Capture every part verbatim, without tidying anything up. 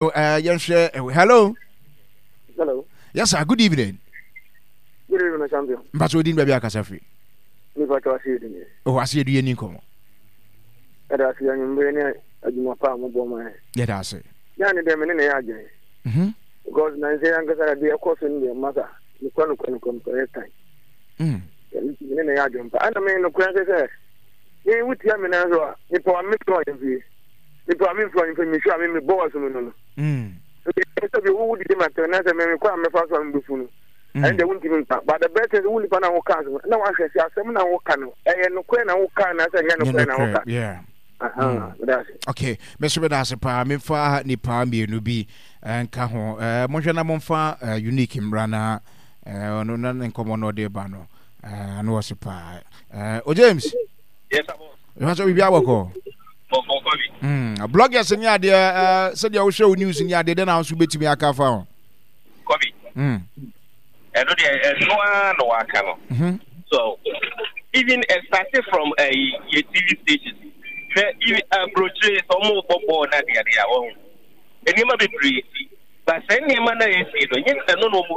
Uh, yɛnhwɛ, hello. Hello. Yes sir, good evening. Good evening, champion. Mpatso, odin, baabi akasa firi? Nipa to ase edu ni. Oh, ase edu, yɛ ni nkɔmɔ. Ɛda ase anwummerɛ ne adwuma pa a mobɔ ma yɛ. Yɛda ase. Yɛa ne dɛ me ne na yɛ adwene. Mhm. Because na nsɛ ankasa na deɛ ɛkɔ so no deɛ, masa nokwa nokwa nokwa nokwa yɛ tan. Mm. Ɛno nti me ne na yɛ adwene pa. Ɛna me nokora sɛ sɛ me wotia me nan so a, mepɛ wa mefrɛ ɔyɛmfie. Mepɛ wa memfrɛ ɔyɛmfie, mehwɛ a me mebɔ wɔ so no no no. Mm. Nti sɛ bi wo didi ma tɛ na sɛ me mekɔ a mɛfa so a mebɛfu no. Mm. Ɛno deɛ wontumi nka. But the best thing sɛ wo nipa na woka so na wahwɛ sɛ asɛm na woka no ɛyɛ nokorɛ na woka na sɛ ɛnyɛ nokorɛ na woka. Yeah. Aha, meda ase. Okay, me nso meda ase paa. Memfa nipa mmienu bi eh, nka ho. eh, monhwɛ na momfa eh, Unique mmra na eh, ɔno na ne nkɔmmɔ no ɔde ba no eh, ano ɔse paa. eh, o James. Yes, sir, boss. Ɛhɔ sɛ biribi abɔkɔ. Bɔkɔ bi. Mm, bloggers ne adeɛ, eh, sɛdeɛ wohwɛ wo news ne adeɛ dɛn na wo nso wobɛtumi aka fa ho? Kɔbi. Mm. Ɛno deɛ, ɛno ara na waka no. Mhm. So even it started from uh, your T V stations. Hwɛ, even aburokyire sɛ ɔmo bɔ bɔɔl na adeade a, wɔn nneɛma bebree si. But sɛ nneɛma na esi no, nye ɛno na ɔmo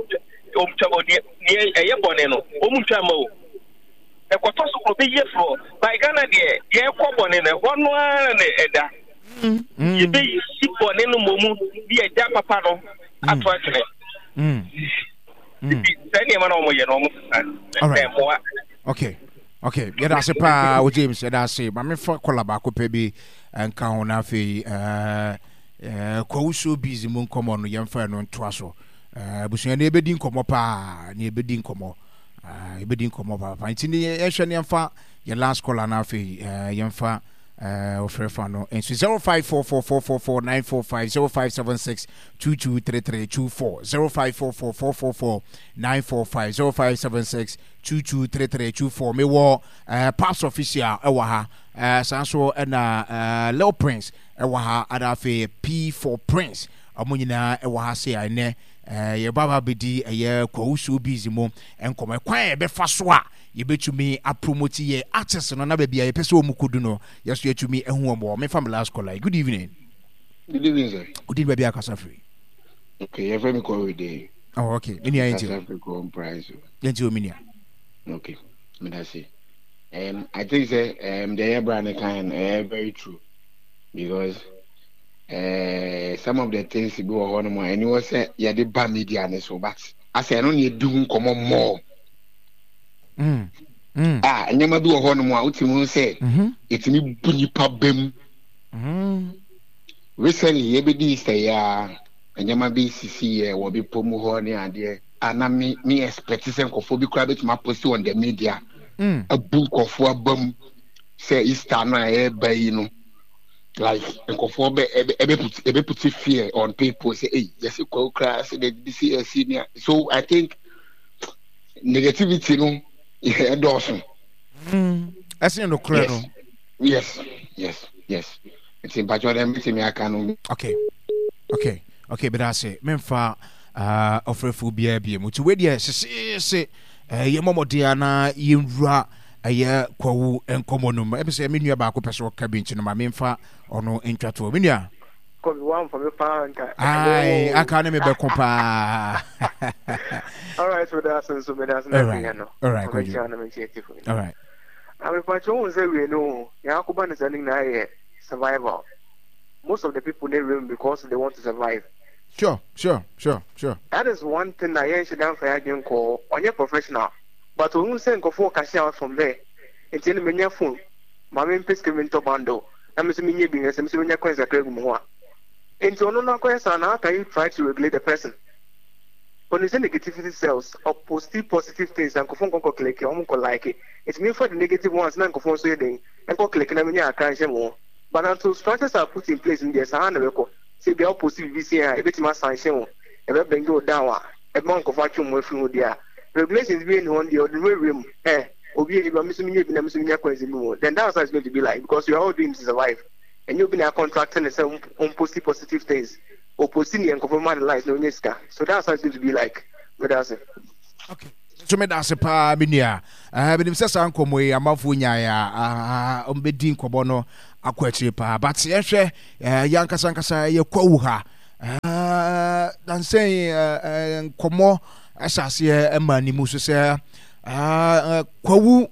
ɔmo twa ɔdeɛ nea ɛyɛ bɔne no, ɔmo ntwa ma o. Ɛkɔtɔ so kɔ bɛyɛ foro. By Ghana deɛ, yɛkɔ bɔne no ɛhɔ no ara na ɛda. Mm. Yɛbɛyi bɔne no mmom de ɛgya papa no ato atwene. Mm. Mm. Nti sɛ nneɛma na wɔyɛ no, wɔn sesa Alright. ɛmmoa. okay okay yɛda ase paa o James, yɛda ase. Ma mefa kɔla baako pɛ bi nka ho na afei eh, eh, Kwawu Showbiz mu nkɔmmɔ no yɛmfa no ntoa so. Eh, abusua ne yɛbɛdi nkɔmmɔ paa, ne yɛbɛdi nkɔmmɔ, Ah, yɛbɛdi nkɔmmɔ paapaa, nti ne yɛhwɛ ne yɛmfa yɛ last caller na afei eh, yɛmfa eh, ɔfrɛ fa no nso zero five four four four four four nine four five, zero five seven six two two three three two four, zero five four four four four four nine four five, zero five seven six two two three three two four. Mewɔ uh, Paps Official ɛwɔ ha, uh, saa nso ɛna uh, Lil Prince ɛwɔ ha, ana afei P four Prince, ɔmo nyinaa ɛwɔ ha se a ɛnɛ uh, yɛba ba bɛdi ɛyɛ Kwawu Showbiz mu nkɔmɔ, ɛkwan a yɛbɛfa so a yɛbɛtumi apromote yɛ artist no na baabi a yɛpɛ sɛ ɔmu kɔdu no, yɛso yɛtumi ahu wɔn wɔ. Mefa me last caller. Good evening. Good evening, sir. Wodin, baabi akasa firi? Okay, yɛfrɛ me Kɔwe Day. Oh, okay, me nua, yɛnti Kasa firi Kɔn Price. Yɛnti o, me nua. Okay, meda se. Um, I think sɛ um, the yɛ bra ne kan no ɛyɛ very true because uh, some of the things bi wɔ hɔ nom a ɛni wɔ sɛ yɛde ba media ne so, but asɛ ɛno na yɛdi ho nkɔmɔ more. mm. Mm. A nneɛma bi wɔ hɔ nom a wotumi hu sɛ Mm-hmm. ɛtumi bu nipa bɛm. Mm. Recently yɛbɛdi Easter yi a, nneɛma bi sisi yɛ wɔ bepɔ mu hɔ ne adeɛ a na me me expect sɛ nkɔfoɔ bi koraa bɛtumi apost on the media Mm. abu nkɔfoɔ aba mu sɛ Easter no a ɛreba yi no, like nkɔfoɔ bɛ ɛbɛ ɛbɛ put ɛbɛ put fear on people sɛ ɛy yɛsi kɔ koraa sɛ de bi si ɛsi nea. So I think negativity no ɛdɔɔso. Mm. Ɛsɛ nokorɛ no. yes yes yes nti mpatsɔ dɛ mbɛtumi aka no. okay okay okay bɛda ase. Memfa uh, ɔfrɛfoɔ biara bie mu, nti wei deɛ seseese uh, yɛmmɔ mmɔden a na yɛnwura ɛyɛ Kwawu nkɔmmɔ no mu. Ɛbi sɛ me nua baako pɛ sɛ ɔka bi, nti no ma memfa ɔno ntwa toɔ. Me nua. Kɔbi wamfa me paa nka. Ai, aka ne mebɛko paa. Alright, so that's nso meda ase na Alright. no. Alright, Kwadwo. Kwadwo na menkyɛ tifo. Alright. Amepakyɛ wohu sɛ wie no, yɛn akɔba ne saa no nyinaa yɛ survival. Most of the people ne room because they want to survive. sure sure sure sure That is one thing na yɛnhyɛ da mfa yɛn adwene nkɔɔ. Ɔnyɛ professional, but ohun sɛ nkurɔfoɔ cash out from there. Nti ɛna menya phone, ma me mpɛ sika bi ntɔ bundle na me nso menyɛ bi nhwɛ sɛ me nso menya coins kakra gu me ho a. Nti ɔno no akɔyɛ saa na how can you try to regulate the person? Ɔnim sɛ negativity sells. Ɔpost positive things na nkurɔfoɔ nkɔ nkɔ click, ɔmo nkɔ like. Nti memfa the negative ones na nkurɔfoɔ nso yɛ den nkɔ click na menya akra nhyɛ mo ho. But until structures are put in place no deɛ, saa na ɛbɛkɔ. Sɛ bia wopost biribi sei a, ɛbɛtumi asanhyɛ wo, ɛbɛ bring wo down a, ɛbɛma nkurɔfoɔ atwe wɔn afiri ho deɛ a, regulations bi nni hɔ no deɛ, ɔde ne ho awura mu. Ɛ obi yɛ bi a, me nso menyɛ bi na me nso menya coins bi mu, then that's how it's going to be like, because we are all doing to survive. Ɛnyɛ obi na contract ne sɛ ɔmpost positive things. Ɔpost ne yɛ nkurɔfoɔ ma ne likes na ɔnyɛ sika. So that's how it's going to be like. Meda ase. Okay, so meda ase paa, me nua. uh, menim sɛ saa nkɔmmɔ yi amanfoɔ nyaeɛ a, ɔmbɛdi nkɔmmɔ no akɔ akyire paa, but yɛhwɛ uh, yɛ ankasa ankasa yɛ Kwawu ha. Uh, dansɛn uh, nkɔmmɔ ɛhyɛ aseɛ ɛma ne mu so sɛ uh, Kwawu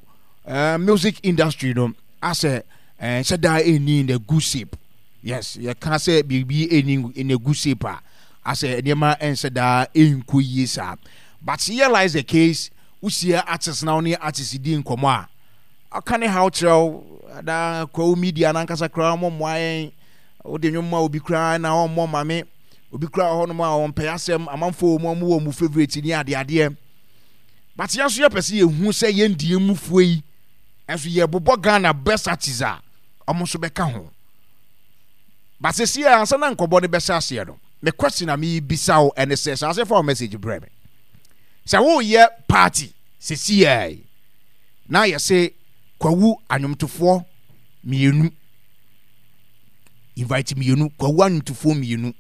uh, music industry no asɛ nhyɛ da ɛnni in the good shape. Yes, yɛka sɛ biribi ɛnni in a good shape a, asɛ nneɛma ɛnhyɛ da ɛnkɔ yie saa. But here lies the case, wohyia artist na wo ne artist di nkɔmmɔ a, ɔka ne haw kyerɛ wo na Kwawu media nankasa koraa ɔmɔmmoa yɛn. Wode nnwom ma obi koraa na ɔmmɔ ma me, obi koraa wɔ hɔnom a ɔmpɛ asɛm, amanfoɔ wɔ mu a ɔmo wɔ mu favourite ne adeadeɛ. But yɛn nso yɛpɛ sɛ yɛhu sɛ yɛn deɛ mufoɔ yi ɛnso yɛbobɔ Ghana best artist a ɔmo nso bɛka ho. But sɛsi a ansa na nkɔbɔ no bɛhyɛ aseɛ no, me question a mebisa wo ɛne sɛ, hyɛ aseɛ fa wo message brɛ me sɛ woyɛ party sɛsi a yi na yɛse Kwawu anwomtofoɔ mmienu invite mmienu, Kwawu anwomtofoɔ mmienu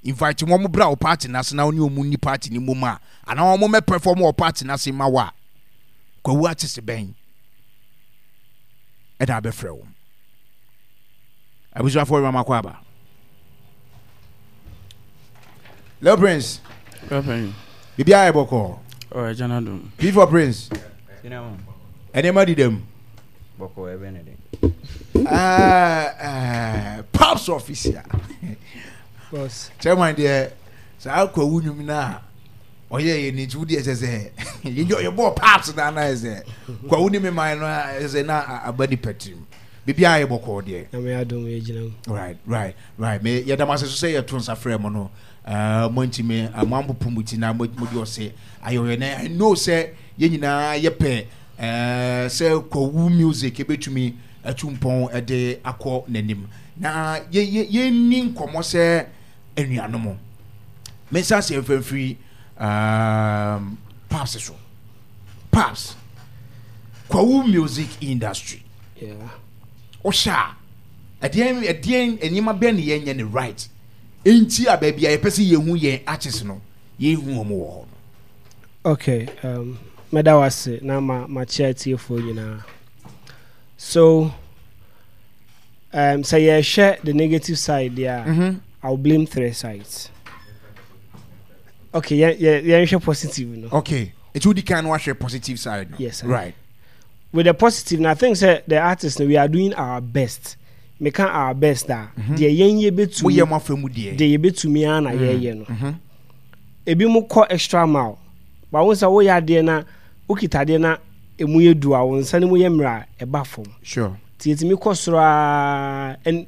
invite wɔn bra wo party n'ase na wo ne wɔn ni party ne mmom a, anaa wɔn mɛ perform wɔ party n'ase ma wo a, Kwawu artist bɛn ɛna abɛfrɛ wɔn? Abusuafoɔ, yɛ mama aba. Leo Prince, biribi ayɛ bɔkɔɔ. Oh, ɛgya no adom. P for Prince, ɛnneɛma di dɛm. Bɔkɔ ɛbɛn ne den. Ɛɛ Pops Official. Boss. Chairman deɛ, saa Kwawu nnwom no a ɔyɛ yɛ ne nti wodeɛ sɛ sɛ yɛnyɛ yɛbɔɔ Pops no ana sɛ Kwawu ne me man no a sɛ na aba nipa tirim. Biribiara yɛ bɔkɔɔ deɛ. Nyame adom, yɛgyina mu. Right, right, right. Me yɛda mo ase so sɛ yɛto nsa frɛ mo no. uh, mo ntumi uh, mo ampopo mo ti na mo mo de ɔse ayɔyɛ na I know sɛ yɛn nyinaa yɛpɛ uh, sɛ Kwawu music ebɛtumi atu mpɔn ɛde akɔ n'anim na yɛ yɛ yɛnni nkɔmmɔ sɛ anuanom. Me nsa ase mfɛmfiri um, Paps so. Paps, Kwawu music industry, Yeah. wohyɛ a, ɛdeɛn ɛdeɛn nneɛma bɛn ne yɛnyɛ ne right nti a baabi a yɛpɛ sɛ yɛhu yɛn artist no, yɛnhu wɔn wɔ hɔ no? Okay, um, mɛda wo ase na ma makyia atiefoɔ nyinaa. So, um, sɛ yɛhwɛ the negative side deɛ a, mm-hmm. I'll blame three sides. Okay, yɛn yɛn yɛnhwɛ positive no. Okay, nti wodi kan no wahwɛ positive side no? Yes, sir. Right. With the positive, na I think sɛ the artists no, we are doing our best. Meka our best a, deɛ yɛn yɛbɛtumi, moyɛ mo afa mu deɛ. Deɛ yɛbɛtumi ara na yɛyɛ no. Ebi mo kɔ extra mile, but wo sɛ woyɛ adeɛ na wokita adeɛ na emu yɛ du a, wo nsa no mu yɛ mmerɛ a, ɛba fam. Sure nti yɛtumi kɔ soro aa, and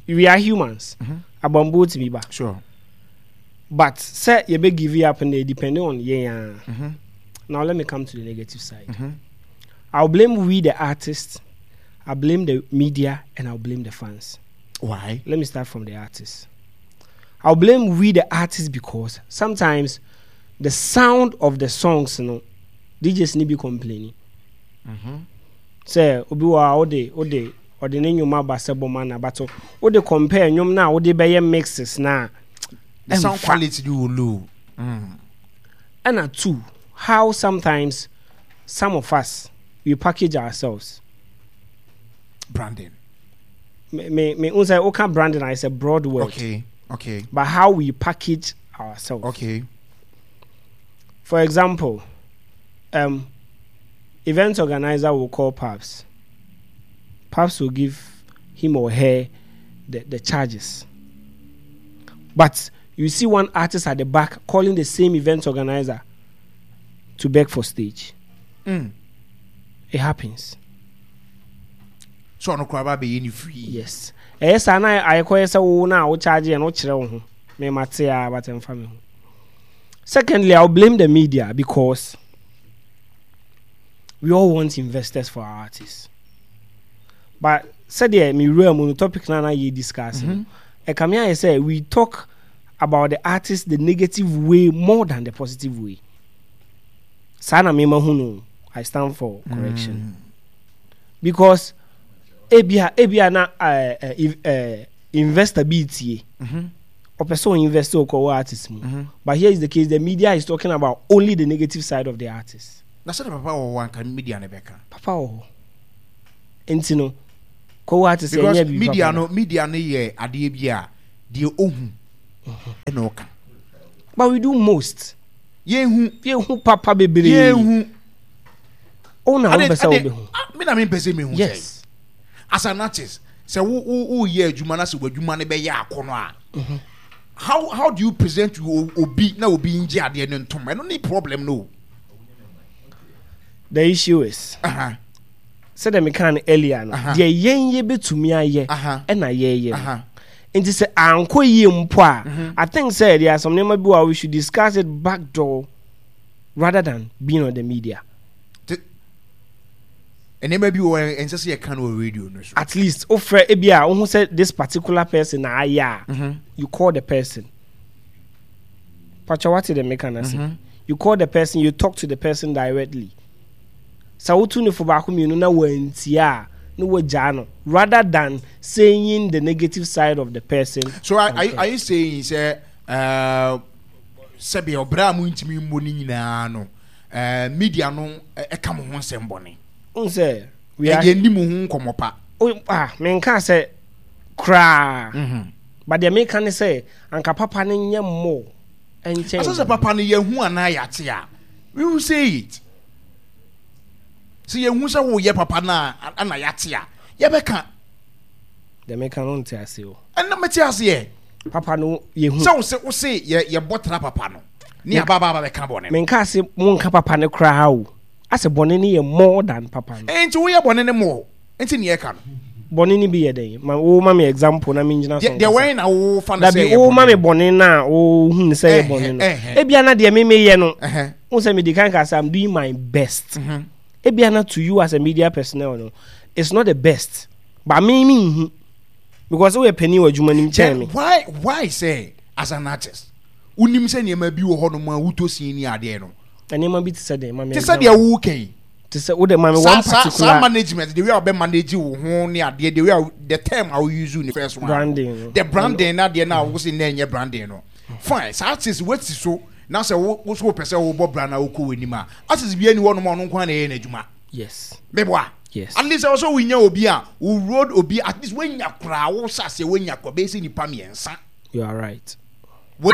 we are humans, abambuo tumi ba. Sure but sɛ yɛbɛ give up no, depending on yɛn ara. Now let me come to the negative side. I'll blame we the artists, I blame the media, and I'll blame the fans. Why? Let me start from the artists. I'll blame we the artists because sometimes the sound of the songs, you know, D Js need be complaining. Sɛ obi wɔ a wode wode ɔde ne nnwom aba sɛ bɔ ma na bato wode compare nnwom na wode bɛyɛ mixes na the sound ɛmfa. Quality do wɔ low mm. Ɛna two, how sometimes some of us, we package ourselves. Branding. Me me me n sɛ woka branding a, it's a broad word. okay okay But how we package ourselves. Okay for example, um, event organizer will call Paps. Paps will give him or her the, the charges. But you see one artist at the back calling the same event organizer to beg for stage. mm. It happens. So ɔno koraa ba bɛyɛ ne free? Yes. Ɛyɛ saa na ayɛkɔyɛ sɛ wo na wo charge yɛ no, wokyerɛ wo ho. Me mate a, but ɛmfa me ho. Secondly, I'll blame the media because we all want investors for our artists. But sɛdeɛ me wura mu no, topic na na yɛ discuss no, ɛka me ayɛ sɛ we talk about the artist the negative way more than the positive way. Saa na mema hu no. I stand for correction. Because ebia ebia na uh, uh, uh, investor bi tie, ɔpɛ sɛ ɔinvest wɔ kɔwɔ artist mu, but here is the case, the media is talking about only the negative side of the artist. Na sɛde papa wɔ hɔ anka media no bɛka. Papa wɔ hɔ nti no kɔwɔ artist because ɛnyɛ biribi media papa no, media no yɛ adeɛ bi a deɛ ohu Ɛna ɔka. But we do most. Yɛnhu. Yɛnhu papa bebree. Yɛnhu. O na wopɛ sɛ wobɛhu. Me na mempɛ sɛ mehu sɛ. Yes. As an artist, sɛ wo wo woyɛ adwuma na sɛ w'adwuma no bɛyɛ akɔnɔ a, Mhm. how how do you present to obi na obi ngye adeɛ no ntom? Ɛno ne problem no. The issue is. Uh-huh. Sɛdeɛ meka no earlier no, deɛ yɛn yɛbɛtumi ayɛ ɛna yɛyɛ no. Nti sɛ ankɔ yie mpo a, Mhm. I think sɛ there are some nneɛma bi wɔ a we should discuss it back door rather than being on the media. Nneɛma bi wɔ ɛnsɛ sɛ yɛka no wɔ radio no so. At least wofrɛ ebi a wohu sɛ this particular person na ayɛ a, Mhm. you call the person. Pacha, what did meka no ase? Mhm. You call the person, you talk to the person directly. Sɛ wotu ne fo baako mmienu na wantie a, na wagyaa no rather than saying the negative side of the person. So are, are, you- are you saying sɛ uh, sɛbi ɔbrɛ a montumi mmɔ no nyinaa no uh, media no eh, ɛka mo ho nsɛm bɔne? N sɛ we are yɛnni mo ho nkɔmmɔ pa. O, ah, menka sɛ koraa. Mhm. But deɛ meka ne sɛ anka papa no nyɛ more ɛnkyɛn. Asɛ sɛ papa no yɛhu anaa yɛate a, we will say it. Sɛ yɛhu sɛ woyɛ papa no a ana yɛate a, yɛbɛka. Deɛ meka no nte ase o. Ɛna mete aseɛ. Papa no yɛhu. Sɛ wo se wo se yɛ yɛbɔ tra papa no ne aba aba aba bɛka bɔne no. Menka se monka papa no koraa o. Asɛ bɔne no yɛ more than papa no. Nti woyɛ bɔne no more nti ne yɛka no. Bɔne no bi yɛ dɛn? Ma wo ma me example na mengyina so Deɛ deɛ nkasa. wɛn na wo fa no sɛ Dabi ɛyɛ wo ma bɔne me no? bɔne no a wohu no sɛ ɛyɛ bɔne no. Ɛhɛ, ɛhɛ. Ebia na deɛ me meyɛ no, Ɛhɛ. wo sɛ medi kan ka sɛ I'm doing my best. Mhm. Ebia na to you as a media personnel no, it's not the best. But me menhu. Because woyɛ panin wɔ adwuma no mu kyɛn Then me. why why sɛ as an artist wonim sɛ nneɛma bi wɔ hɔnom a wotɔ sin ne adeɛ no? Nneɛma bi te sɛ dɛn? Ma me Te sɛ example. deɛ woka yi. Te sɛ wode ma me Saa one saa saa particular management, the way a wɔbɛ manage wo ho ne adeɛ, the way a the term a wo use ne first one. Branding no. The branding na adeɛ na wo se na ɛnyɛ branding no. Fine, saa artist woasi so na sɛ wo wo so wopɛ sɛ wobɔ brand na wokɔ w'anim a, artist bi ani hɔnom a ɔno nko ara na ɛyɛ n'adwuma. Yes. Meboa. Yes. At least ɛwɔ sɛ wonya obi a wo road obi at least woanya koraa wo hyɛ aseɛ woanya koraa bɛyɛ sɛ nipa mmiɛnsa. You are right.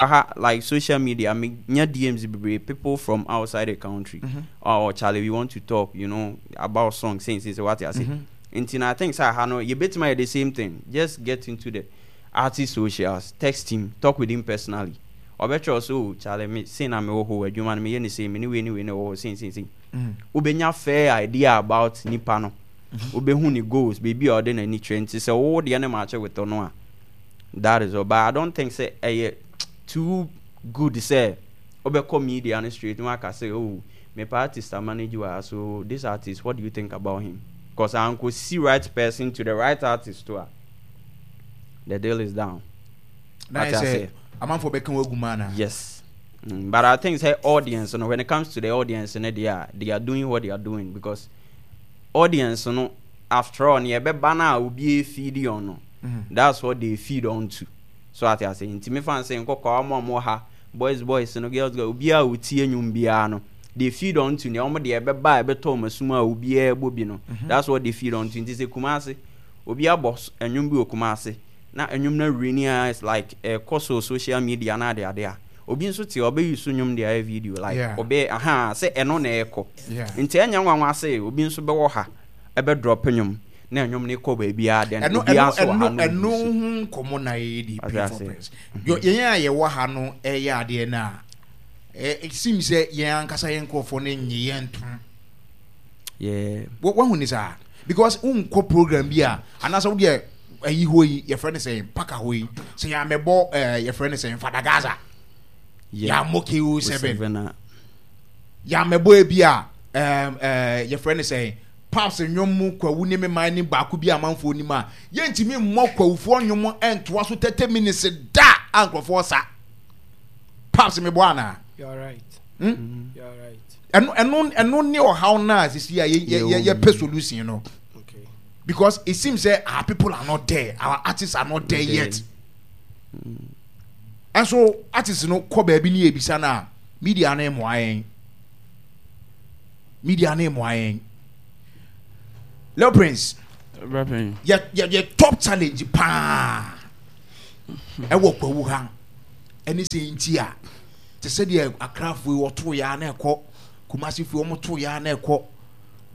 Aha, like social media, me nya D Ms bebree, people from outside the country. Mm-hmm. Oh, Charlie, we want to talk, you know, about songs, saying, saying, what I say. Mm-hmm. Nti na I think sir, ha no, you bet my the same thing. Just get into the artist socials, text him, talk with him personally. Or better also, Charlie, me say na me oh, adwuma me ye say me anyway, anyway, oh, say, say, say. Mm. Ubenya fair idea about nipa no. Mm-hmm. Ubehu ni goals, baby, or then any trend. So oh, the animal with no. That is all. But I don't think say eh, too good say obeko media on the street. No, I can say, oh, my artist I manage you, so this artist, what do you think about him? 'Cause I could see right person to the right artist to her. The deal is down. Now I What I say, say. I'm for Beckham Gumana. Yes. Mm, but I think say audience, you know, when it comes to the audience, you know, they are, they are doing what they are doing because audience, you know, after all, yeah, be banner will be a feed on. No. Mm-hmm. That's what they feed on to. So I say, inti me fan say, nko kwa mo mo ha, boys, boys, you know, girls, girls, obi a utie nyum bia no. They feed on to ne omo de be ba be to masuma obi e bo bi no. Mm-hmm. That's what they feed on to. Inti say Kumasi, obi a boss enyum bi okumasi. Na enyum na renia is like a course of social media na de ade a. Obi nso te obe use nyum de aye video like Yeah. obe aha say eno na eko. Yeah. Nti enya nwanwa say obi nso be wo ha e be drop nyum na enyum ne kɔ ba bia den Eno obi eno aso ha eno no. eno ho nkɔmɔ na yɛ di Ase P four ase. Prince. Yo yɛn a yɛwɔ ha no ɛyɛ adeɛ na eh, it seems sɛ yɛn ankasa yɛn nkurɔfoɔ no nye yɛn ntom. Yeah. Wo wahu ne saa because wonkɔ program bi a anaasɛ wodeɛ ayi hɔ yi yɛfrɛ no sɛ mpaka hɔ yi sɛ yɛamɛbɔ eh, yɛfrɛ no sɛ Fada Gaza. Yeah. Yɛammɔ K O seven. Seven a. Yɛamɛbɔ ebi a, um, eh, yɛfrɛ no sɛ Pops nnwom mu kwawu ne me man ne baako bi amanfoɔ nim a yɛntumi mmɔ kwawufoɔ nnwom ɛntoa so thirty minutes da a nkurɔfoɔ sa. Pops mebɔ anaa? You are right. Hmm? You are right. Ɛno, ɛno, ɛno ne ɔhaw no a sisi a yɛ, yɛ, yɛ, yɛpɛ solution no. Okay. Because it seems that our people are not there, our artists are not there There. yet. And so artists no kɔ baabi ne ebisa na media na emu ayɛn. Media na emu ayɛn. Leo Prince, Rapping. yɛ, yɛ, yɛ top challenge paa. Ɛwɔ kwawu ha. Ɛne sɛ nti a te sɛ deɛ Akrafoɔ yi wɔto yɛ a na ɛkɔ, Kumasifoɔ wɔn to yɛ a na ɛkɔ,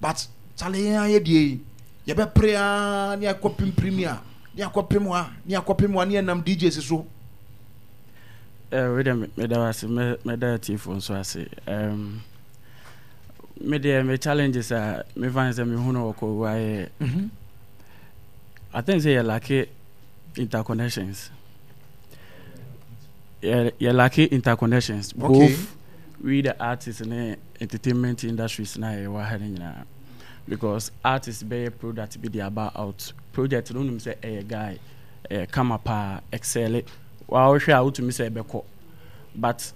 but kyale yɛn ayɛ deɛ yi yɛbɛpere aa ne akɔ pem Premier ne akɔ pem ha ne akɔ pem ha ne yɛnam D Js so. Eh, wei deɛ meda wo ase, mɛ- mɛda atiefoɔ nso ase. um, me deɛ, me challenges a mefa ne sɛ mehu no wɔ Kwawu ayɛ, I think sɛ yɛ lack interconnections, yɛ yɛ lack interconnections, Okay. both we the artists ne entertainment industries na yɛwɔ ha no nyinaa, because artist bɛyɛ product bi de aba out, project no wonim sɛ ɛyɛ guy, ɛyɛ kama paa, excel wa, wohwɛ a wotumi sɛ ɛbɛkɔ, but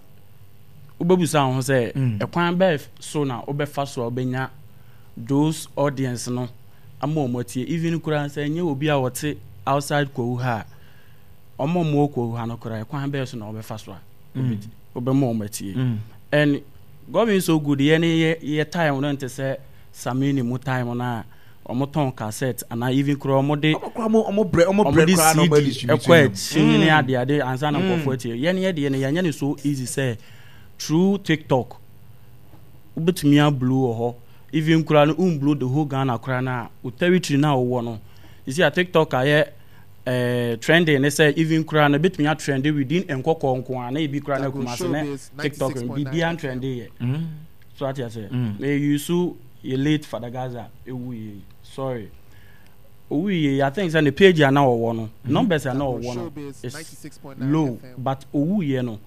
wobɛbusa wo ho sɛ Mm. ɛkwan bɛɛ so na wobɛfa so a wobɛnya those audience no ama ɔmo atie? Even koraa sɛ ɛnyɛ obi a wɔte outside Kwawu ha a, ɔmo a ɔmo wɔ Kwawu ha no koraa, ɛkwan bɛɛ so na wobɛfa so a wobɛdi- wobɛma ɔmo atie? And God being so good, yɛ ne yɛ yɛ time no nte sɛ Samini mu time no a ɔmo tɔn cassette anaa even koraa ɔmo de ɔmo kora ɔmo ɔmo brɛ ɔmo ɔmo brɛ de koraa na ɔmo C D adistribute ɛkɔ no. akyi ne ade ade ansa na nkurɔfoɔ atie. Yɛn yɛ deɛ no, yɛnyɛ ne so easy sɛ through TikTok wobɛtumi ablow wɔ hɔ. Even koraa no, womblow the whole Ghana koraa no a, wo territory no a wowɔ no, you see a TikTok ayɛ eh, trending ne sɛ even koraa no bɛtumi atrend within Nkɔkɔɔ nko a, na ebi koraa no Kumase ne TikTok no biribiara ntrend yɛ so, ate ase. Mm. Na yusu yɛ late Father Gaza ewu yie, sorry, owu yie. I think sɛ ne page a na ɔwɔ no, numbers a na ɔwɔ no is low, but owu yie no,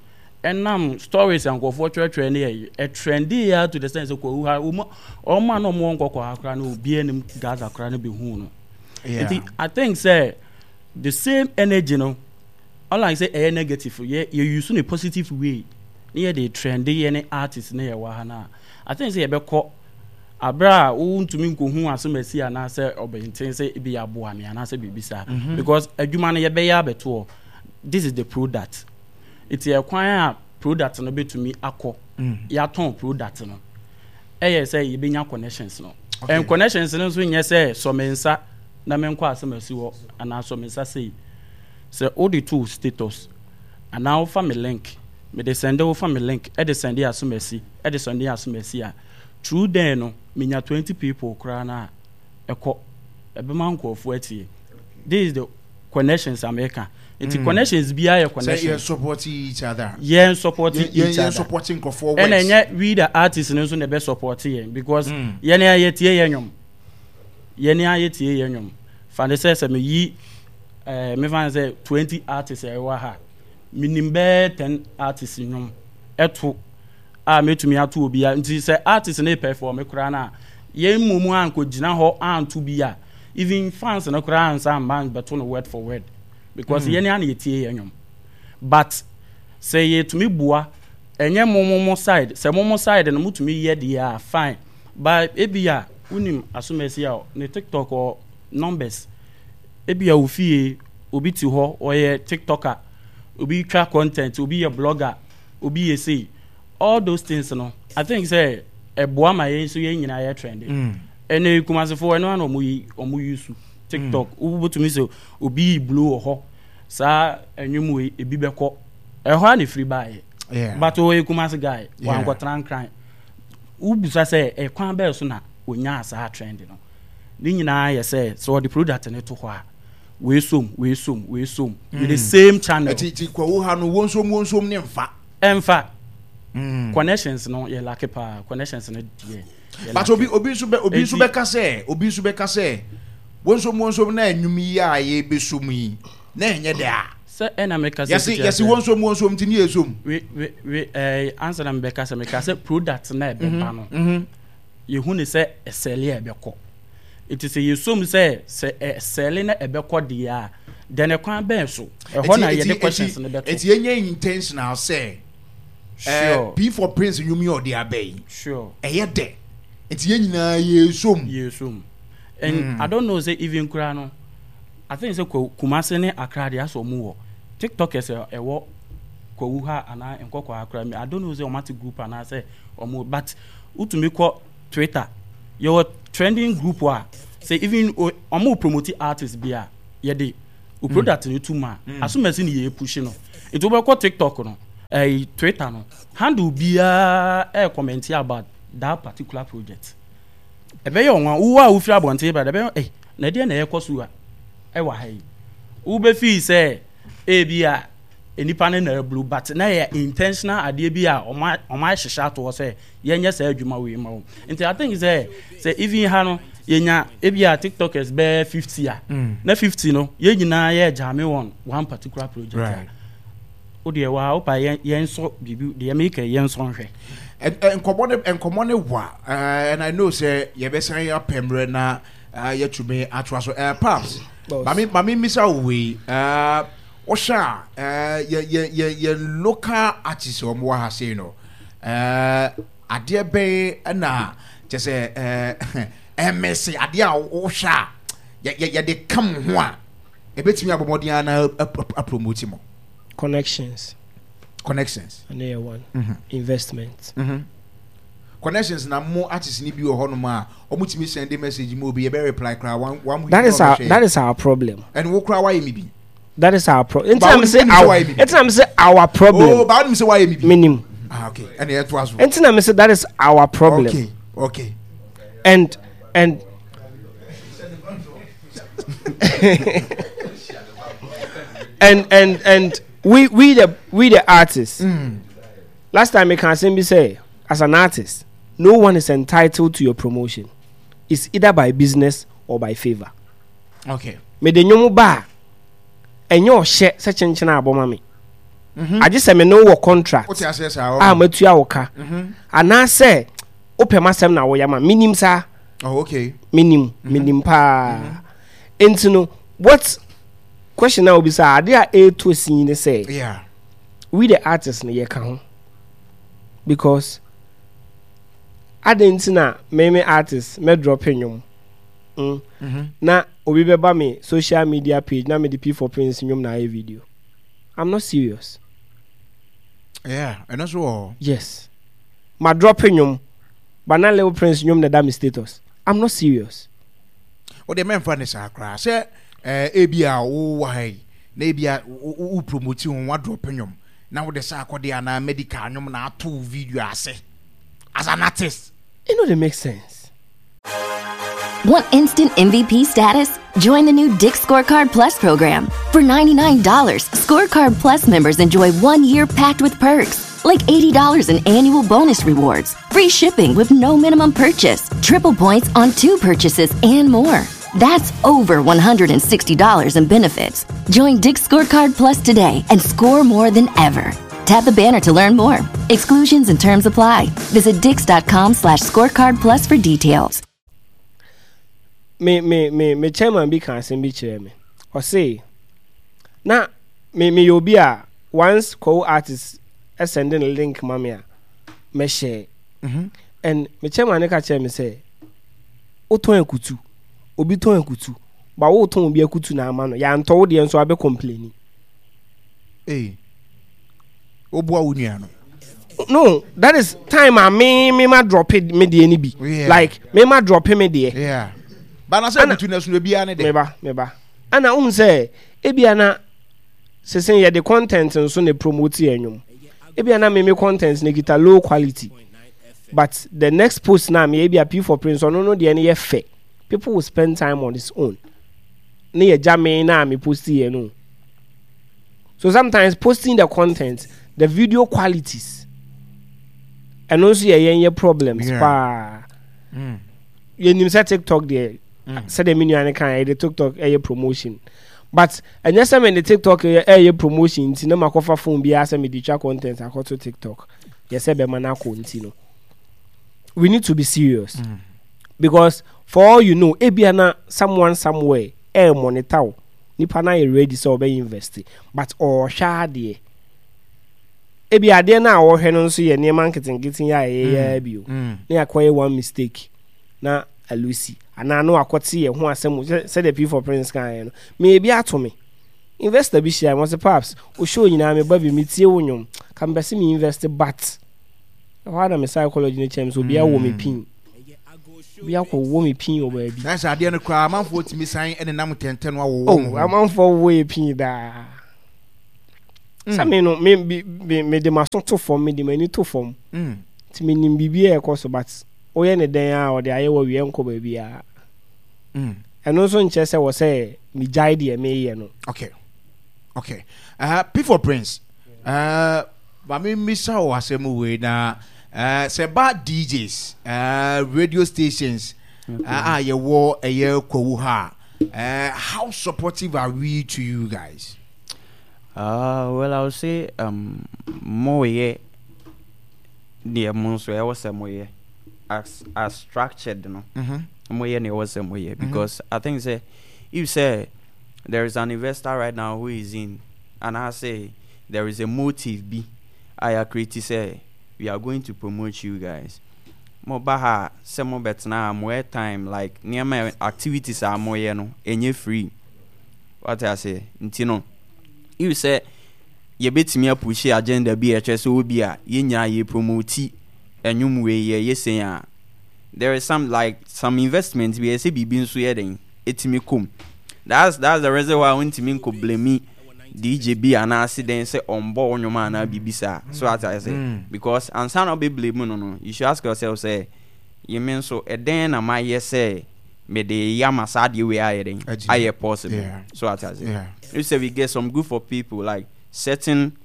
ɛnam stories a nkurɔfoɔ twerɛtwerɛ ne yɛ ɛtrend yɛ to the sense sɛ Kwawu ha, ɔmo ɔmo a na ɔmo wɔ Nkɔkɔ ha koraa no, obi anim Gaza koraa no bɛhu no. Yeah. Nti I think sɛ the same energy no, unlike sɛ ɛyɛ negative, yɛ yɛ use no positive way ne yɛ de trend yɛ ne artist ne yɛ wɔ ha na I think sɛ yɛbɛkɔ abere a wontumi nkohu asɛm asi anaasɛ ɔbɛnten sɛ ebi yɛ aboa me anaasɛ biribi saa, because adwuma no yɛbɛyɛ abɛtoɔ, this is the product. Nti ɛkwan a product no bɛtumi akɔ, yɛatɔn product no, ɛyɛ sɛ yɛbɛnya connections no. Okay. And connections no nso nyɛ sɛ sɔ me nsa na menkɔ asɛm asi hɔ anaa sɔ me nsa sei sɛ wode to status anaa wofa me link, mede send, wofa me link ɛde send asɛm asi, ɛde send asɛm asi a, through there no menya twenty people koraa no a, ɛkɔ ɛbɛma nkurɔfoɔ atie. This is the connections a meka. Nti Mm. connections biara yɛ sɛ yɛn connections. support each other. Yɛn support yɛn each yɛn other. support nkurɔfoɔ Ɛna works. ɛnyɛ we the artist no nso na ɛbɛ support yɛn, because Mm. yɛn a yɛtie yɛn nwom, yɛn a yɛtie yɛn nwom, fande sɛ sɛ meyi ɛɛ mefa ne sɛ twenty artists a ɛwɔ ha, minim bɛɛ ten artists nwom ɛto a metumi ato obiara. Nti sɛ artist ne perform koraa na yɛn mu mu ankɔ gyina hɔ anto bi a, even fans no koraa ansa mba bɛto no word for word, because mm. yɛn a na yɛtie yɛn nwom. But sɛ yɛtumi boa, ɛnyɛ mo mo mo side, sɛ mo mo side no motumi yɛ deɛ a, fine, but ebi a wonim asomasi a ne TikTok wɔ numbers, ebi a ofie obi te hɔ ɔyɛ TikToker, obi twa content, obi yɛ blogger, obi yɛ sei, all those things no, I think sɛ ɛboa ma yɛn nso yɛn nyinaa yɛ trend. Mm. Ɛnna Kumasefoɔ ɛno ana ɔmo yi, ɔmo yi su TikTok, wobɛtumi sɛ obi yi blow wɔ hɔ saa, ɛnwom wei ebi bɛkɔ ɛhɔ a na efiri baayɛ. Yeah. But ɔyɛ Kumase guy. Yeah. Wankɔtena Nkran. Wobisa sɛ ɛkwan bɛɛ so na onyaa saa trend no, ne nyinaa yɛ sɛ sɛ ɔde product no to hɔ a, wei som, wei som, wei som with the same channel. Ɛti ti Kwawu ha no, wonsom wonsom ne nfa. Ɛnfa. Mm. Connections no yɛ lack paa, connections no deɛ yɛ But lack. obi obi nso bɛ obi nso Enti- bɛka sɛ obi nso bɛka sɛ wonsom wonsom na enwum yi a yɛbɛsom yi na ɛnyɛ dɛ a. Sɛ ɛna meka sɛ yɛsi fiti yɛsi aseɛ. Wonsom wonsom ti ne yɛsom. we we we ɛɛ ansa na mebɛka sɛ meka sɛ product na ɛbɛba no, Mhm. yɛhu ne sɛ ɛsell a ɛbɛkɔ. Nti sɛ yɛsom sɛ sɛ ɛsell na ɛbɛkɔ deɛ a, then ɛkwan bɛn so ɛhɔ na Eti- yɛde eti- questions no bɛto. Eti yɛnyɛ intentional sɛ ɛɛ Sure. P for Prince nnwom yi a ɔde aba yi, Sure. ɛyɛ dɛ, nti yɛn nyinaa yɛsom. Yɛsom, and I don't know sɛ even koraa no, I think sɛ Kwa- kumase ne Accra deɛ, asɛ ɔmo wɔ TikTokers a ɛwɔ Kwawu ha anaa Nkɔkɔ ha koraa mi, I don't know sɛ ɔmo ate group anaasɛ ɔmo, but wotumi kɔ Twitter, yɛwɔ trending group a sɛ even o- ɔmo promote artist bi a, yɛde o product no to mu a, asomasi ne yɛ push no. Nti wobɛkɔ TikTok no, ɛyi Twitter no, handle biara ɛyɛ comment about that particular project. Ɛbɛyɛ ɔnwa wo a wofiri abɔnten ba, ɛbɛyɛ ɛ na ɛdeɛ na ɛkɔ so a ɛwɔ ha yi. Wobɛfii sɛ ebi a nipa no na aburu, but na yɛ intentional adeɛ bi a ɔmo ɔmo ahyehyɛ ato hɔ sɛ yɛnyɛ saa adwuma wei ma wo. Nti I think sɛ sɛ even ha no yɛnya ebi a TikTokers bɛyɛ fifty a, na fifty no yɛn nyinaa yɛ jam on one particular project Right. a, o deɛ wa wopa yɛn yɛn nsɔ biribi deɛ meka yɛn nsɔ nhwɛ. Nkɔmɔ ne nkɔmɔ ne wa, and I know sɛ yɛbɛsan apɛ mmerɛ na uh, yɛtumi atoa so. uh, Paps, maame maame misa wo wei, uh, wohwɛ a, uh, yɛ yɛ yɛ yɛ local artist a wɔn wɔ ha sei no, uh, adeɛ bɛn ɛna kyɛ sɛ uh, ɛmɛsɛ adeɛ a wohwɛ a yɛ yɛ yɛde kam ho a ebetumi abɔ mmɔden ana apromote mo? Connections. Connections. Ɛno yɛ one. Investment. Mm-hmm. Connections na mo artist ni bi wɔ hɔnom a ɔmo tumi send message mu, obi yɛbɛ reply koraa one one week. That is na our ɔbɛhwɛ. That is our problem. Ɛne wo koraa wayɛ mi bi. That is our problem. Nti But na me say wonim sɛ our wayɛ mi bi. nti na me say our problem. Oh, but wonim sɛ wayɛ mi bi. Minim. Ah, okay, ɛne yɛtoa so. Nti na me say that is our problem. okay okay And and and and and we we the we the artists. Mm. Last time I can say say as an artist, no one is entitled to your promotion. It's either by business or by favor. Okay mede nnwom ba a, ɛnyɛ ɔhyɛ sɛ kyenkyene a abɔ ma me, agye sɛ me ne wo wɔ contract wote aseɛ saa a ɔ matua wo ka, anaasɛ wopɛ m'asɛm na woyɛ ma menim saa. Oh, okay. Menim, menim paa. Nti no, what question a wobisa, ade a ɛɛtɔ sin ne sɛ yeah we the artists no yɛka ho, because ade nti na me me artist mɛdrop nnwom mm. na obi bɛba me social media page na mede P for Prince nnwom na ayɛ video? I'm not serious. Yeah, ɛno nso wɔ hɔ. Yes, ma drop nnwom but na Little Prince nnwom na ɛda me status. I'm not serious. Wode mɛmfa ne saa koraa sɛ eh, ebi a wowɔ ha yi na ebi a wo wo- wo promote ho, wadrop nnwom na wode sɛ akɔde anaa medical nnwom na ato wo video ase as an artist. It no dey make sense. Want instant M V P status? Join the new Dick's Scorecard Plus program. For ninety-nine dollars Scorecard Plus members enjoy one year packed with perks, like eighty dollars in annual bonus rewards, free shipping with no minimum purchase, triple points on two purchases, and more. That's over one hundred sixty dollars in benefits. Join Dick's Scorecard Plus today and score more than ever. Tap the banner to learn more. Exclusions and terms apply. Visit dicks dot com slash scorecard plus for details. me me me me chairman bi ka asɛm bi kyerɛ me. Ɔse na me meyɛ obi a once co artist ɛsend ne link ma me a, mɛhyɛ. And me chairman ne ka kyerɛ me sɛ wotɔn akutu, obi tɔn akutu ba, wotɔn obi akutu na ama no yɛantɔ wo deɛ nso abɛ complain. Ee, woboa wo nua no. No, that is time a me me ma drop me deɛ ni bi. Yeah. Like me ma drop me deɛ. Yeah, bana sɛ Ana- butu na so obiara ne de. Meba, meba ana wohu sɛ ebia na sese yɛde content nso na promote yɛn nnwom. Ebia na meme content na kita low quality, but the next post na me ebia P for Prince, ɔno no deɛ no yɛ fɛ, people will spend time on its own ne yɛ gya me na me post yɛ no. So sometimes posting the content, the video qualities, ɛno nso yɛ yɛn yɛ problems Yeah. paa. Mm. Yɛnim sɛ TikTok deɛ, sɛdeɛ me nua no kan, yɛde TikTok ɛyɛ promotion, but ɛnyɛ sɛ mede TikTok ɛyɛ ɛyɛ promotion nti na makɔfa phone biara sɛ mede twa content akɔto TikTok yɛ sɛ bɛma no akɔ. Nti no, we need to be serious mm. because for all you know, ebia na someone somewhere ɛɛ monitor wo. Nipa na yɛ ready sɛ ɔbɛ invest, but ɔɔhwɛ adeɛ. Ebi adeɛ no a ɔhwɛ no nso yɛ nneɛma nketenkete yɛ a ɛyɛ yɛ bio Mm. na yɛakɔyɛ one mistake na alusi anaa na wakɔte yɛ ho asɛm sɛ- sɛdeɛ P for Prince kan yɛ no. Me ebi ato me, investor bi hyia me, ɔsɛ, "Paps, o show nyinaa me ba bi, metie wo nnwom, ka mepɛ sɛ me invest," but ɛhɔ a na me psychology no kyerɛ me sɛ obiara wɔ me pin, obi akɔwɔ me pin wɔ baabi. Na sɛ adeɛ no koraa amanfoɔ tumi san ɛne nam ntɛntɛn no awɔwɔ Oh, mo ho. Amanfoɔ wɔ yɛ pin daa. Sɛ me no me me me de m'aso to fam, me de m'ani to fam. Mm. Nti menim biribi a ɛkɔ so, but woyɛ ne dɛn a ɔde ayɛ wɔ wie nkɔ baabiara. Mm. Ɛno nso nkyerɛ sɛ wɔ sɛ megyae deɛ meyɛ no. Okay. Okay. Uh, P for Prince. Uh, ma me mmisa wɔ asɛm wei na uh, sɛ ba D Js, uh, radio stations Okay. uh, a yɛwɔ ɛyɛ Kwawu ha, uh, how supportive are we to you guys? Uh, well, I would say um, more yeah, the monso I was more yeah, as as structured no. Mm-hmm. More yeah, was more yeah, because I think say if say there is an investor right now who is in, and I say there is a motive B, I agree to say we are going to promote you guys. Mo baha say mo betna more time like near my activities are more yeah no, any free. What I say, ntino. You say you bet me a push agenda be a chess will be a yin ye promote and you way ye ye say there is some like some investments we say be been so it's me come. That's that's the reason why I want to mean could blame me D J B and I see then say on board your man I be bisa. So as I say mm. because and some not be blame no no. You should ask yourself say you mean so a then am I yes say me the yamasadi we are then I possible. Yeah. So as I say. Yeah. You say we get some group of people, like certain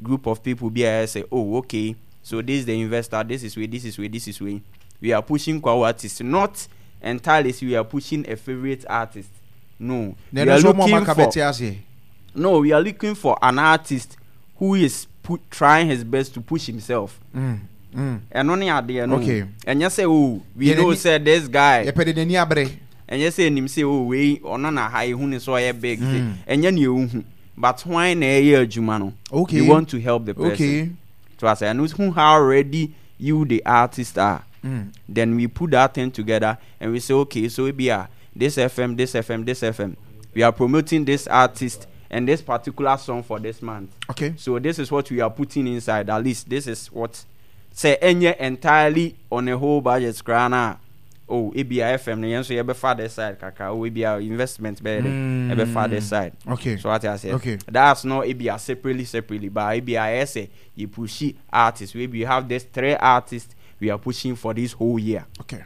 group of people be I say, oh, okay, so this is the investor, this is way, this is way, this is way. We are pushing our artists, not entirely we are pushing a favorite artist. No. We are looking for, no, we are looking for an artist who is put, trying his best to push himself. Mm. Mm. And only at the end. Okay. And you say, oh, we know say this guy. And you say him say, oh, we or none high who is so big. Mm. And you knew, but why na year Jumano? Okay. You want to help the person. Okay. So I say, and who how ready you the artist are. Mm. Then we put that thing together and we say, okay, so we are this F M, this F M, this F M. We are promoting this artist and this particular song for this month. Okay. So this is what we are putting inside. At least this is what say any entirely on a whole budget scrana. Oh, A B I F M, so you be father side, kaka. Oh, A B I investment be mm. be father side. Okay. So what I said. Okay. That's not A B I separately, separately, but A B I S A you push artists. We have this three artists we are pushing for this whole year. Okay.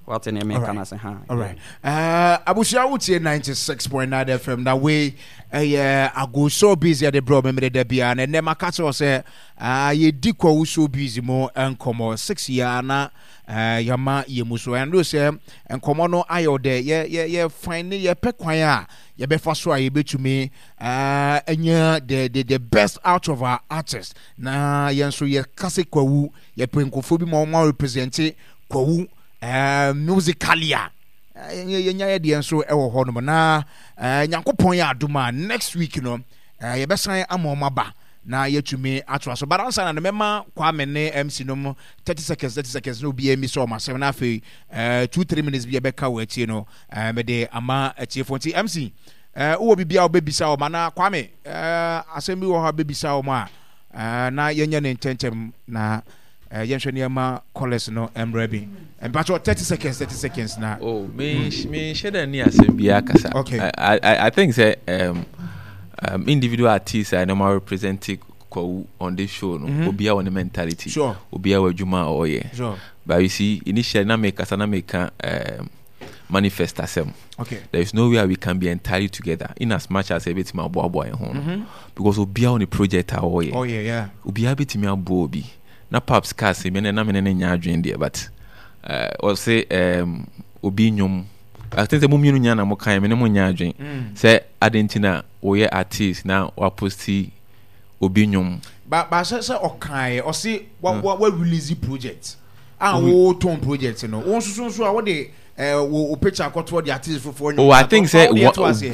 What in All right. right. All right. Uh, Abusia Utie ninety-six point nine F M. That way, uh, yeah, I go so busy at the bro. Remember the bia and then my cat say, ah, ye diko so busy mo and come six year na uh yama ye muso and do say and come no ayo de ye ye ye find ye pe kwan ye be fa so a ye betumi uh enya the the the best out of our artists. Na ye nso ye kase kwawu ye penkofo bi mo mo represent kwawu. Uh, musicalia yenya de nso ewo ho no na nyankopon ya adoma next week no ye besan ama ba na yetumi ato so but ansa na mema Kwame ne M C no thirty seconds thirty seconds no bi emi so ma seven na afi two three minutes bi e beka we atie no me de ama atiefo nti M C eh wo bibia wo bebisa wo ma na Kwame eh asem bi wo ha bebisa wo ma na yenya ne ntentem na yenhwe niema callers no emrebi and but thirty seconds thirty seconds now. Oh, me me share ni asem bi akasa. Okay. I I I think say um um individual artists are normal representing on this show no. Mm-hmm. Obi a mentality. Sure. Obi a adwuma o ye. Sure. But you see initially na make kasa na make um manifest asem. Okay. There is no way we can be entirely together in as much as everything aboa aboa ho no. Because obi a on the project a o ye. Oh yeah, yeah. Obi a betimi aboa obi. Na paps cast me na me ne nya adwen there but uh or say um obi nyom I think say mo mienu nya na mo kan me ne mo nya adwen say adentina wo ye artist na wa posti obi nyom ba ba say say okan o say wa wa release project and wo ton project no wo nso nso a wo de eh wo picture akoto the artist for. Oh, I think say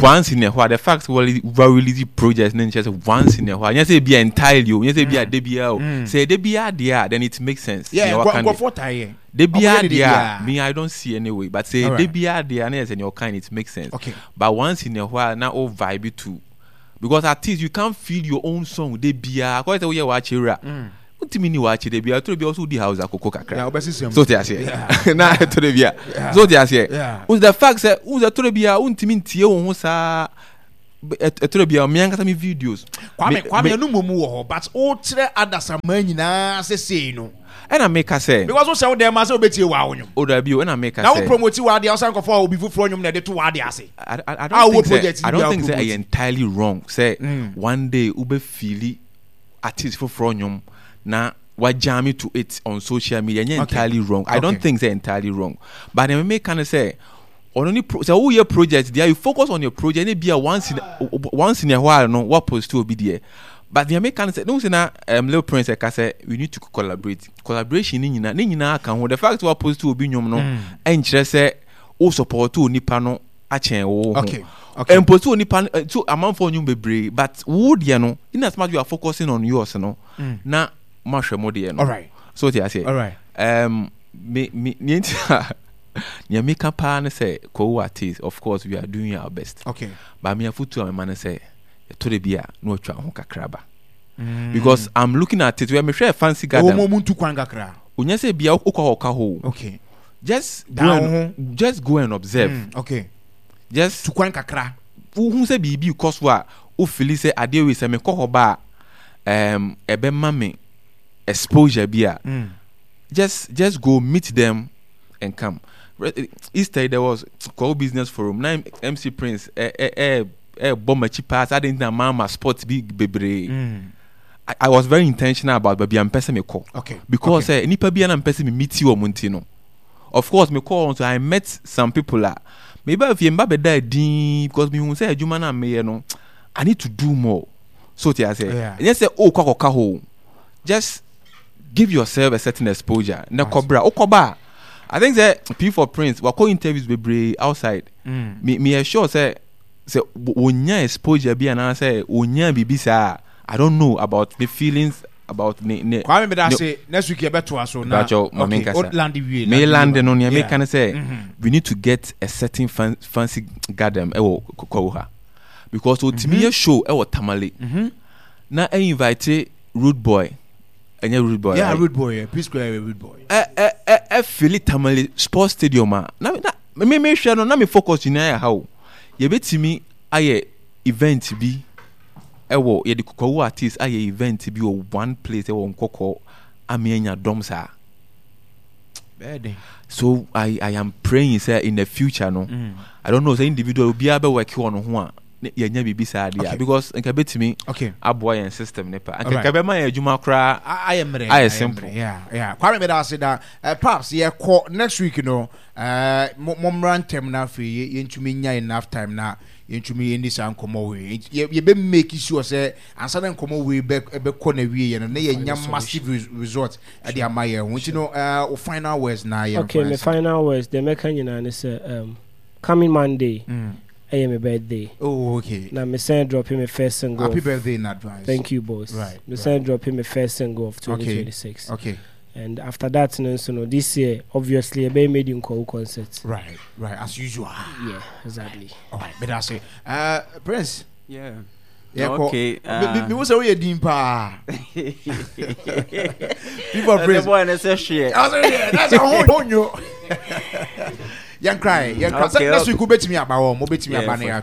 once in a while the fact we release project then just once in a while. You say be entirely, you say be a D B A. Say D B A there, then it makes sense. Yeah, go go for time. D B A there, me I don't see anyway. But say D B A there, and your kind, it makes sense. Okay. But once in a while, now all vibe too, because artists you can't feel your own song. D B A, quite a way watch it. Untimi ni wache de bia to bia also di house akoko kakra. Yeah, obesi so te ase. Na to de bia. So te ase. Yeah. The fact say un the to bia untimi ntie wo ho sa Ɛtɔrɔ bi a me ankasa me videos. Kwame Kwame ɛnu mu wɔ hɔ but o kyerɛ adasama nyinaa sese no. Ɛna meka sɛ. Because o sɛ o dɛm ase o bɛ tie wa o nwom. O dabi o ɛna meka sɛ. Na o promote wa adeɛ ɔsan kɔfɔ obi foforɔ nwom na ɛde to wa adeɛ ase. I, I, I don't think sɛ I don't think sɛ ɛyɛ entirely wrong sɛ mm. one day o bɛ feeli artist foforɔ nwom na wa jam it to it on social media ɛnyɛ entirely wrong. I don't think sɛ entirely wrong but ɛna meka ne sɛ. Ɔno ne pro sɛ woyɛ project deɛ you focus on your project ne bia once in once in a while no wa post obi deɛ but deɛ meka ne sɛ ne ho sɛ na um, Lil Prince ɛka sɛ we need to collaborate collaboration ne nyinaa ne nyinaa ka ho the fact wa post obi nnwom no ɛnkyerɛ sɛ wo support onipa no akyɛn wo ho okay okay mpost onipa no so amanfoɔ nnwom bebree but wo deɛ no in as much you are focusing on yours no mm. na mahwɛ mo deɛ no alright so te aseɛ alright um, me me ne nti a nea meka paa ne sɛ Kwawu artist of course we are doing our best okay but me afotu a mema ne sɛ ɛtɔ da bi a na watwa ho kakra ba mm. because I'm looking at it where mehwɛ fancy garden ɔmo mu ntu kwan kakra onya sɛ bia wokɔ hɔ ɔka hɔ okay just go and just go and observe mm, okay just tu kwan kakra wohu sɛ biribi kɔ so a wofili sɛ adeɛ wei sɛ mekɔ hɔ ba a um, ɛbɛma me exposure bi a mm. just just go meet them and come. Easter there was Kwawu Business Forum na M C Prince eh eh eh eh bɔ m'akyi paa saa de ntina maa ma sport bi bebree. Mm. I, I was very intentional about baabi a mpɛ sɛ mekɔ. Okay. Because okay. eh, nipa bi a na mpɛ sɛ me meet wɔn nti no. Of course mekɔ wɔn so I met some people a meba fie mba bɛda din because mehu sɛ adwuma no a meyɛ no I need to do more. So te ase. Yeah. Ɛnyɛ sɛ o kɔ akɔka hɔ. Just give yourself a certain exposure. Na kɔbra okɔba. I think sɛ P for Prince wakɔ interviews bebree outside. Mm. Me me sure sɛ sɛ wonya exposure bi anaasɛ wonya biribi saa. I don't know about the feelings about ne ne. Kwame me da se next week yɛbɛtoa so na. Bacho ma me okay nkasa. Land wie. Me land no nea meka ne sɛ Mm-hmm. we need to get a certain fan, fancy garden ɛwɔ Kwawu ha because otimi yɛ show ɛwɔ Tamale. Mm-hmm. Na ɛ invite Rude Boy. Ɛnyɛ Rude Boy. Yeah, right? Rude Boy. Yeah. P Square Rude Boy. Ɛ ɛ ɛ ɛ fili Tamale Sports Stadium a na na me me hwɛ no na me focus nyinaa yɛ ha o. Yɛbɛtumi ayɛ event bi ɛwɔ yɛde Kwawu artist ayɛ event bi wɔ one place ɛwɔ Nkɔkɔ ame anya dɔm saa. So I I am praying sɛ in the future no mm. I don't know sɛ individual obiara bɛ work on ho a yɛnya biribi saa deɛ because nka bɛtumi okay. aboa yɛn system ne pa nka nka bɛma yɛn adwuma koraa ayɛ mmerɛ ayɛ simple. Yeah, yeah. Kwame meda ase da uh, Paps yɛkɔ next week no uh, mommra ntɛm na afei yɛntumi nya enough time na yɛntumi yɛndi saa nkɔmmɔ wei yɛbɛ make sure sɛ ansa na nkɔmmɔ wei bɛkɔ na wie yɛ no na yɛnya massive result ɛde ama yɛn ho nti no uh, final words na yɛn. Okay, my final words deɛ mɛka nyinaa ne sɛ um, coming Monday mm. I am my birthday. Oh, okay. Now, me send dropping my first single. Happy birthday in advance. Thank you, boss. Right. Me send dropping my first single of twenty twenty-six. Okay. Okay. And after that, no, so no, this year, obviously, I made in Kwawu concert. Right, right, as usual. Yeah, exactly. All right, better say, uh, Prince. Yeah. Yeah, okay. Uh, me was away din pa. People Prince. The boy and say shit. That's a whole no. Young cry, young cry. Okay, next week we bet me about one, we bet me about yeah,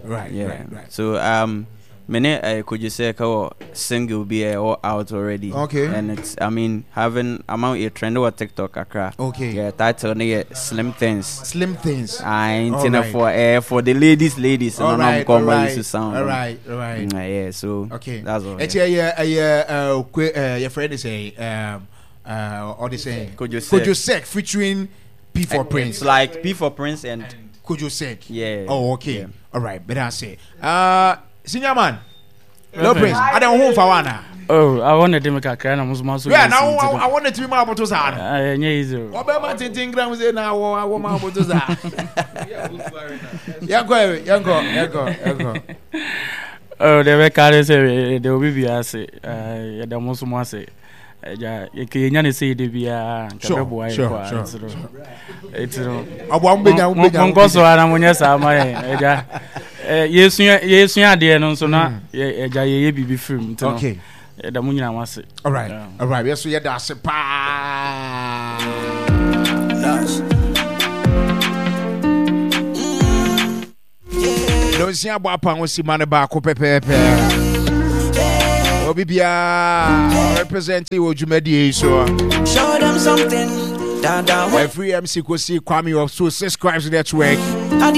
right, yeah. right, right. So um, many uh, could you say our single be all out already? Okay. And it's I mean having amount a trend over TikTok Accra. Okay. Yeah, title yeah, Slim Things. Slim Things. I ain't for uh, for the ladies, ladies. All and right, all right, to sound. All right, all right. Mm, yeah, so okay, that's all. It's yeah, yeah, yeah. Uh, your friend is a um uh, all the same. Kojo Sek. Kojo Sek featuring P for Prince. It's like P for Prince and Kojo Sek. Yeah. Oh, okay. Yeah. All right. Better say. Uh, senior man. No Prince. I don't want for one. Oh, I wanted to make a cry. I'm so yeah. Now I, I wanted to be my bottles. I yeah, Obama tintin gram say now I want my bottles. Yanko, yanko, yanko, yanko. Oh, they were carrying say they will be as uh, the most say. Ja, yɛnya ne sɛ yɛde biara nka bɛboa yɛ kɔ a nti no nti no monkɔ so ara monyɛ saa ma yɛn agya yɛsua yɛsua adeɛ no nso na agya yɛyɛ biribi firi mu nti no ɛda mo nyinaa mo ase. All right, all right, yɛso yɛda ase paa. Mm. Yeah. Nonsia abɔ apa ho sima no baako pɛpɛɛpɛ. Obi biara representing wɔ dwumadie yi so. Show them something. Da da Every M C Kosi Kwame of So Six Crimes Network.